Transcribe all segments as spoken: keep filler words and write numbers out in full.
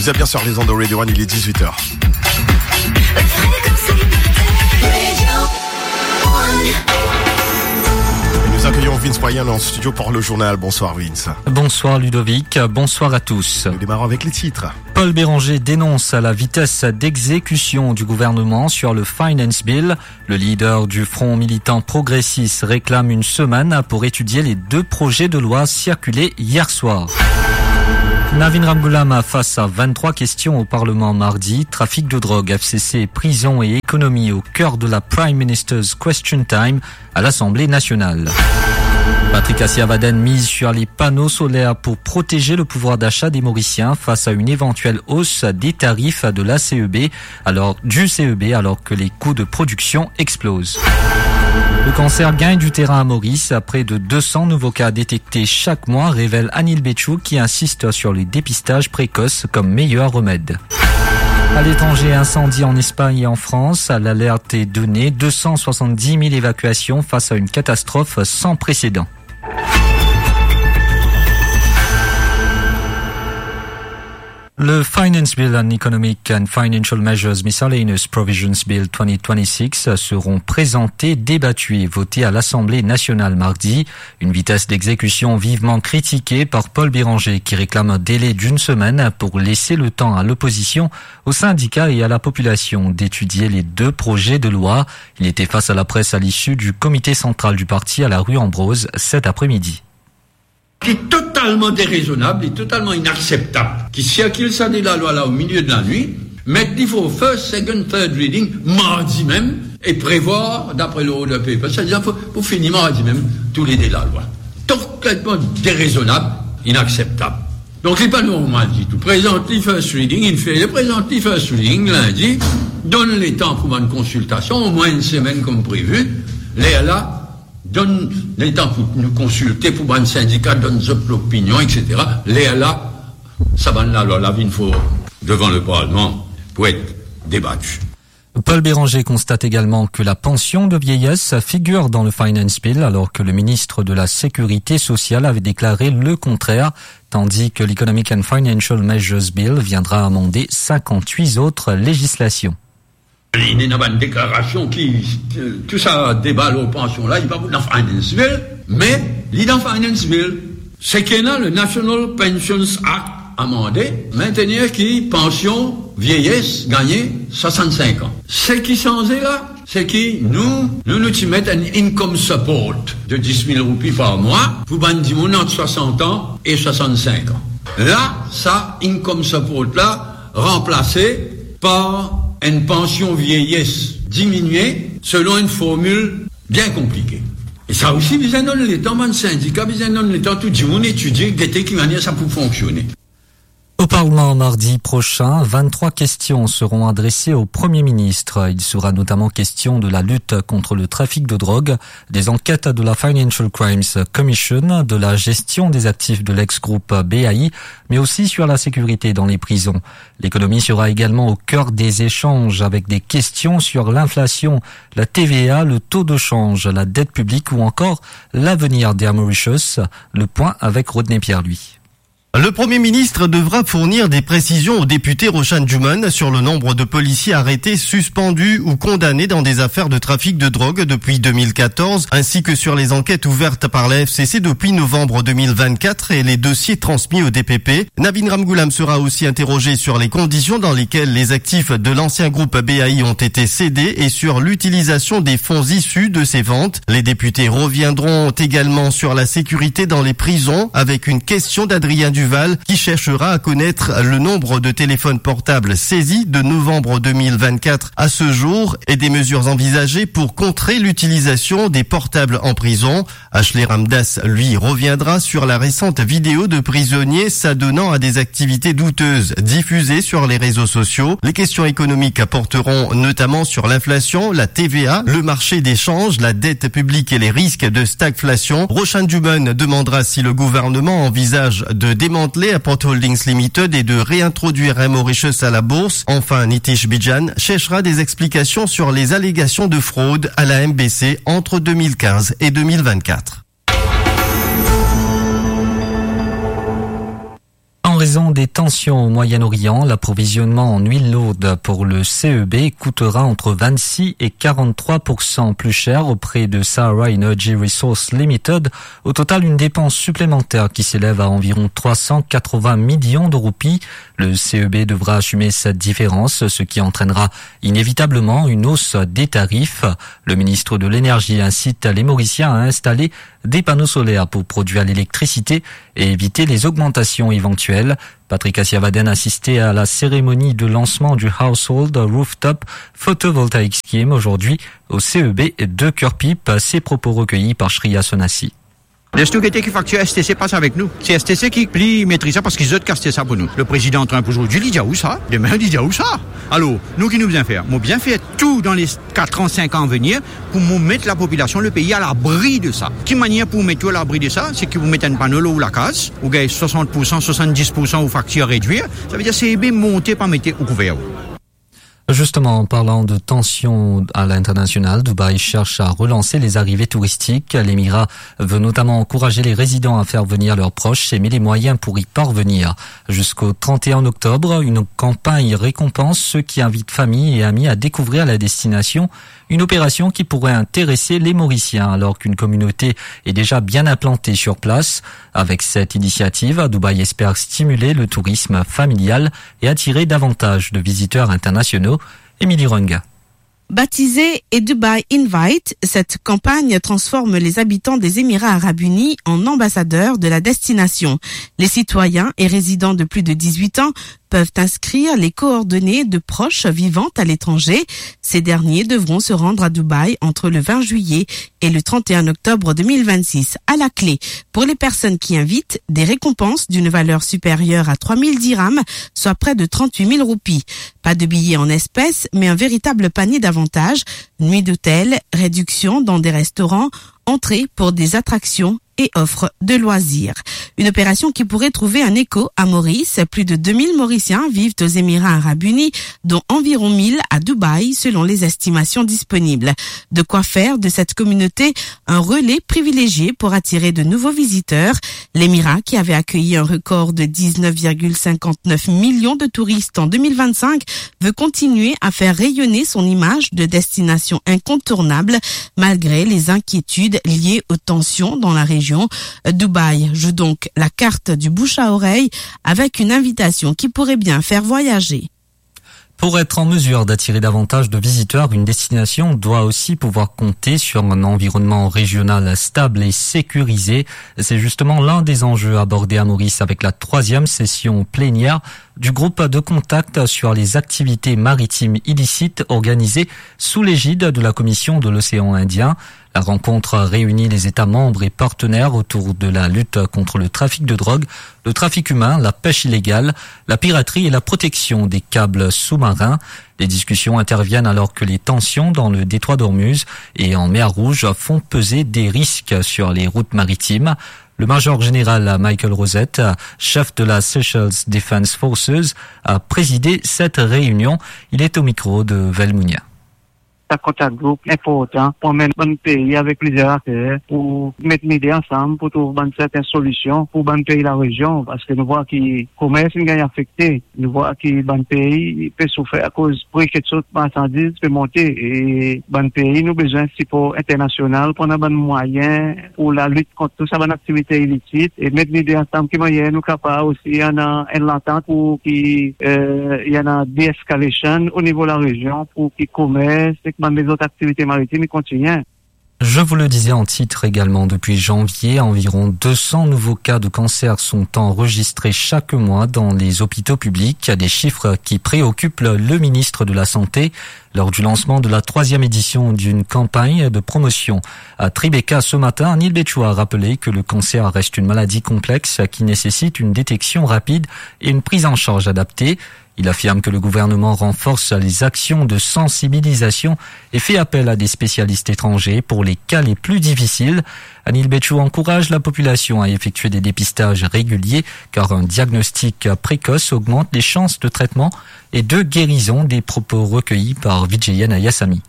Vous êtes bien sur les ondes de Radio One, il est dix-huit heures. Et nous accueillons Vince Moyen en studio pour le journal. Bonsoir Vince. Bonsoir Ludovic, bonsoir à tous. Nous démarrons avec les titres. Paul Bérenger dénonce la vitesse d'exécution du gouvernement sur le Finance Bill. Le leader du Front militant progressiste réclame une semaine pour étudier les deux projets de loi circulés hier soir. Navin Ramgoolam face à vingt-trois questions au Parlement mardi. Trafic de drogue, F C C, prison et économie au cœur de la Prime Minister's Question Time à l'Assemblée nationale. Patrick Asirvaden mise sur les panneaux solaires pour protéger le pouvoir d'achat des Mauriciens face à une éventuelle hausse des tarifs de la C E B, alors, du C E B, alors que les coûts de production explosent. Le cancer gagne du terrain à Maurice. Près de deux cents nouveaux cas détectés chaque mois, révèle Anil Bechou, qui insiste sur le dépistage précoce comme meilleur remède. À l'étranger, incendie en Espagne et en France. L'alerte est donnée. Deux cent soixante-dix mille évacuations face à une catastrophe sans précédent. Le Finance Bill and Economic and Financial Measures Miscellaneous Provisions Bill twenty twenty-six seront présentés, débattus et votés à l'Assemblée nationale mardi. Une vitesse d'exécution vivement critiquée par Paul Bérenger, qui réclame un délai d'une semaine pour laisser le temps à l'opposition, aux syndicats et à la population d'étudier les deux projets de loi. Il était face à la presse à l'issue du comité central du parti à la rue Ambrose cet après-midi. Ki totalman derezonab, li totalman inakseptab ki sirkil sa de lalwa la o milie de lanwit, met li for first, second, third reading mardi mem e prevwar, dapre l'order paper, sa dir pou, pou fini mardi mem tou le de lalwa. Totalman derezonab, inakseptab. Donk li pa normal ditou. Prezant li first reading, inn fer li, prezant li first reading lindi, donn letan pou bann konsiltasion, omwin enn semenn kom previ, lerla, donn letan pou nou konsilte, pou bann sindika donn zot lopinion, et cetera. Lerla, sa bann lalwa la vinn for devan le Parlement pou et debati. Paul Bérenger constate également que la pension de vieillesse figure dans le Finance Bill, alors que le ministre de la Sécurité sociale avait déclaré le contraire, tandis que l'Economic and Financial Measures Bill viendra amender cinquante-huit autres législations. Li ena bann deklarasion ki, euh, tou sa deba lor pansion la, li pa pou dan Finance Bill, me li dan Finance Bill. Seki ena, le National Pensions Act amande, mentenir ki pansion vieyes gagne swasann-sink an. Seki sanze la, seki nou, nou, nou ti met enn income support de dis mil roupi par mwa pou bann dimoun ant swasant an e swasann-sink an. La, sa income support la ranplase par enn pansion vieyes diminie selon enn formil bien konplike. E sa osi bizin donn letan, bann sindika bizin donn letan tou dimoun etidie, gete ki manier sa pou fonksione. Au Parlement mardi prochain, vingt-trois questions seront adressées au Premier ministre. Il sera notamment question de la lutte contre le trafic de drogue, des enquêtes de la Financial Crimes Commission, de la gestion des actifs de l'ex-groupe B A I, mais aussi sur la sécurité dans les prisons. L'économie sera également au cœur des échanges, avec des questions sur l'inflation, la T V A, le taux de change, la dette publique ou encore l'avenir d'Air Mauritius. Le point avec Rodney Pierre-Louis. Le Premier ministre devra fournir des précisions au député Rochane Dumon sur le nombre de policiers arrêtés, suspendus ou condamnés dans des affaires de trafic de drogue depuis deux mille quatorze, ainsi que sur les enquêtes ouvertes par la F C C depuis novembre deux mille vingt-quatre et les dossiers transmis au D P P. Navin Ramgoolam sera aussi interrogé sur les conditions dans lesquelles les actifs de l'ancien groupe B A I ont été cédés et sur l'utilisation des fonds issus de ces ventes. Les députés reviendront également sur la sécurité dans les prisons avec une question d'Adrien Duval qui cherchera à connaître le nombre de téléphones portables saisis de novembre deux mille vingt-quatre à ce jour et des mesures envisagées pour contrer l'utilisation des portables en prison. Ashley Ramdass, lui, reviendra sur la récente vidéo de prisonniers s'adonnant à des activités douteuses diffusées sur les réseaux sociaux. Les questions économiques porteront notamment sur l'inflation, la T V A, le marché des changes, la dette publique et les risques de stagflation. Rochane Dumon demandera si le gouvernement envisage de démanteler Airport Holdings Limited et de réintroduire Air Mauritius à la bourse. Enfin, Nitish Bijan cherchera des explications sur les allégations de fraude à la M B C entre deux mille quinze et deux mille vingt-quatre. En Raison des tensions au Moyen-Orient, l'approvisionnement en huile lourde pour le C E B coûtera entre vingt-six et quarante-trois pour cent plus cher auprès de Sahara Energy Resource Limited. Au total, une dépense supplémentaire qui s'élève à environ trois cent quatre-vingts millions de roupies. Le C E B devra assumer cette différence, ce qui entraînera inévitablement une hausse des tarifs. Le ministre de l'Énergie incite les Mauriciens à installer des panneaux solaires pour produire l'électricité et éviter les augmentations éventuelles. Patrick Assiavaden assistait à la cérémonie de lancement du Household Rooftop Photovoltaic Scheme aujourd'hui au C E B de Curepipe. Ces propos recueillis par Shreya Sonasi. Les nou gete ki faktir S T C pas avek nou. Se S T C ki pli metriz sa, parski zot ki aste sa pou nou. Le prezidan Trump zordi, li dir ou sa, demin, li dir ou sa. Alor, nou ki nou bizin fer? Mo bizin fer tou dan les quatre ans, cinq ans à venir pou mo met lapopilasion, le pei, alabri de sa. Ki manier pou met ou alabri de sa? Se ki pou met enn pano lor ou lakaz, ou gagn swasant pour san, swasanndiz pour san ou faktir redwir. Savedir, se ebe monte pa mete ou kouver ou. Justement, en parlant de tension à l'international, Dubaï cherche à relancer les arrivées touristiques. L'émirat veut notamment encourager les résidents à faire venir leurs proches et met les moyens pour y parvenir. Jusqu'au trente et un octobre, une campagne récompense ceux qui invitent famille et amis à découvrir la destination. Une opération qui pourrait intéresser les Mauriciens alors qu'une communauté est déjà bien implantée sur place. Avec cette initiative, Dubaï espère stimuler le tourisme familial et attirer davantage de visiteurs internationaux. Émilie Runga. Baptisée et Dubai Invite, cette campagne transforme les habitants des Émirats Arabes Unis en ambassadeurs de la destination. Les citoyens et résidents de plus de dix-huit ans peuvent inscrire les coordonnées de proches vivant à l'étranger. Ces derniers devront se rendre à Dubaï entre le vingt juillet et le trente et un octobre deux mille vingt-six. À la clé, pour les personnes qui invitent, des récompenses d'une valeur supérieure à trois mille dirhams, soit près de trente-huit mille roupies. Pas de billets en espèces, mais un véritable panier d'avantages, nuit d'hôtel, réduction dans des restaurants, entrée pour des attractions et offres de loisirs. Une opération qui pourrait trouver un écho à Maurice. Plus de deux mille Mauriciens vivent aux Émirats Arabes Unis, dont environ mille à Dubaï, selon les estimations disponibles. De quoi faire de cette communauté un relais privilégié pour attirer de nouveaux visiteurs. L'Émirat, qui avait accueilli un record de dix-neuf virgule cinquante-neuf millions de touristes en deux mille vingt-cinq, veut continuer à faire rayonner son image de destination incontournable, malgré les inquiétudes liées aux tensions dans la région. Dubaï joue donc la carte du bouche à oreille avec une invitation qui pourrait bien faire voyager. Pour être en mesure d'attirer davantage de visiteurs, une destination doit aussi pouvoir compter sur un environnement régional stable et sécurisé. C'est justement l'un des enjeux abordés à Maurice avec la troisième session plénière du groupe de contact sur les activités maritimes illicites organisée sous l'égide de la Commission de l'océan Indien. La rencontre réunit les États membres et partenaires autour de la lutte contre le trafic de drogue, le trafic humain, la pêche illégale, la piraterie et la protection des câbles sous-marins. Les discussions interviennent alors que les tensions dans le détroit d'Ormuz et en mer Rouge font peser des risques sur les routes maritimes. Le major général Michael Rosette, chef de la Seychelles Defense Forces, a présidé cette réunion. Il est au micro de Velmounia. Sa kontak group inportan pou amenn bann pei avek plizier akter pou met lide ansam pou trouv bann serten solision pou bann pei larezion, parski nou vwar ki komers inn gagn afekte. Nou vwar ki bann pei pe soufer akoz pri ki sort marsandiz pe monte, e bann pei nou bizin sipor internasional pou annan bann mwayin pou lalit kont tou sa bann aktivite ilisit e met lide ansam ki manier nou kapav osi annan enn lantant pou ki, eh, ena de-escalation o nivo larezion pou ki komers ek bann lezot aktivite maritim i kontigne. Je vous le disais en titre également, depuis janvier, environ deux cents nouveaux cas de cancer sont enregistrés chaque mois dans les hôpitaux publics, des chiffres qui préoccupent le ministre de la Santé. Lors du lancement de la troisième édition d'une campagne de promotion à Tribeca ce matin, Anil Bechou a rappelé que le cancer reste une maladie complexe qui nécessite une détection rapide et une prise en charge adaptée. Il affirme que le gouvernement renforce les actions de sensibilisation et fait appel à des spécialistes étrangers pour les cas les plus difficiles. Anil Bechou encourage la population à effectuer des dépistages réguliers, car un diagnostic précoce augmente les chances de traitement et de guérison. Des propos recueillis par Vijayana Yasami.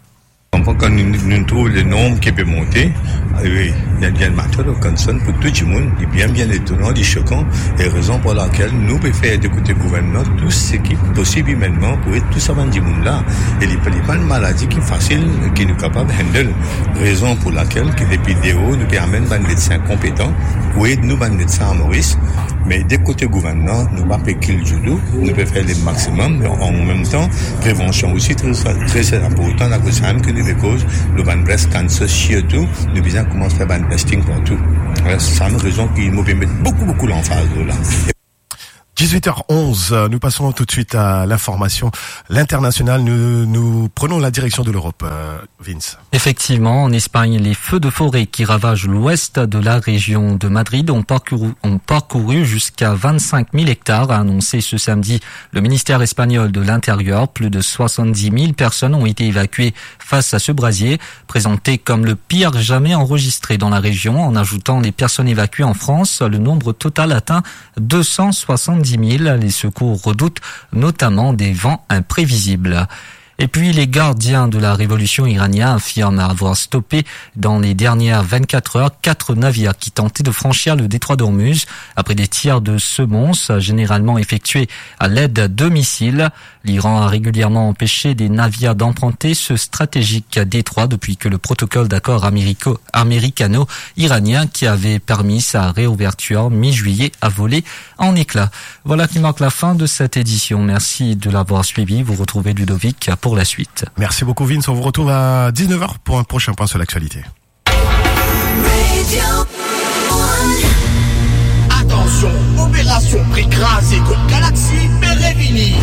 Kan, kan nou, nou trouv le nonb ki pe monte, wi, li, li enn matter of concern pou tou dimoun. Li bien, bien etonan, li sokan, e rezon pou lakel nou pe fer de kote gouvernman tou seki posib imenman pou ed tou sa bann dimoun la. E li, li pa enn maladi ki fasil, ki nou kapav handle. Rezon pou lakel ki depi deor nou pe amenn bann medsin konpetan pou ed nou bann medsin a Moris. Me de kote gouvernman, nou pa pe kil ditou, nou pe fer le maximum, me an mem tan, prevansion osi tre, tre, tre inportan, akoz samem ki nou pe koz, nou bann breast cancer sirtou, nou bizin koumans fer bann testing partou. Sa enn rezon ki nou pe met boukou, boukou lanfaz la. Dix-huit heures onze, nous passons tout de suite à l'information, l'international. Nous, nous prenons la direction de l'Europe, euh, Vince. Effectivement, en Espagne, les feux de forêt qui ravagent l'ouest de la région de Madrid ont parcouru, ont parcouru jusqu'à vingt-cinq mille hectares, a annoncé ce samedi le ministère espagnol de l'Intérieur. Plus de soixante-dix mille personnes ont été évacuées face à ce brasier, présenté comme le pire jamais enregistré dans la région. En ajoutant les personnes évacuées en France, le nombre total atteint deux cent soixante-dix mille. Les secours redoutent notamment des vents imprévisibles. Et puis, les gardiens de la révolution iranienne affirment avoir stoppé dans les dernières vingt-quatre heures quatre navires qui tentaient de franchir le détroit d'Ormuz après des tirs de semonce, généralement effectués à l'aide de missiles. L'Iran a régulièrement empêché des navires d'emprunter ce stratégique détroit depuis que le protocole d'accord américo-, américano-iranien qui avait permis sa réouverture mi-juillet a volé en éclats. Voilà qui marque la fin de cette édition. Merci de l'avoir suivi. Vous retrouvez Ludovic pour la suite. Merci beaucoup, Vince. On vous retrouve à dix-neuf heures pour un prochain point sur l'actualité. Atansion, operasion pri kraze kot Galaxy pe revini.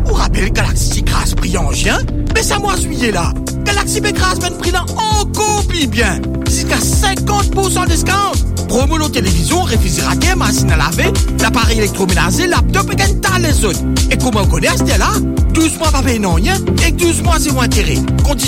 Ou rapel Galaxy ti kraz pri an zin? Me sa mwa zwiye la, Galaxy pe kraz bann pri la ankor pli bien, ziska sinkant poursan discount. Promo lor televizion, refrizerater, masinn a lave, laparey elektromenaze, laptop ek enn ta lezot. E kouma ou kone aster la, douz mwa pa pey nanye, ek douz mwa zero intere. Kondi-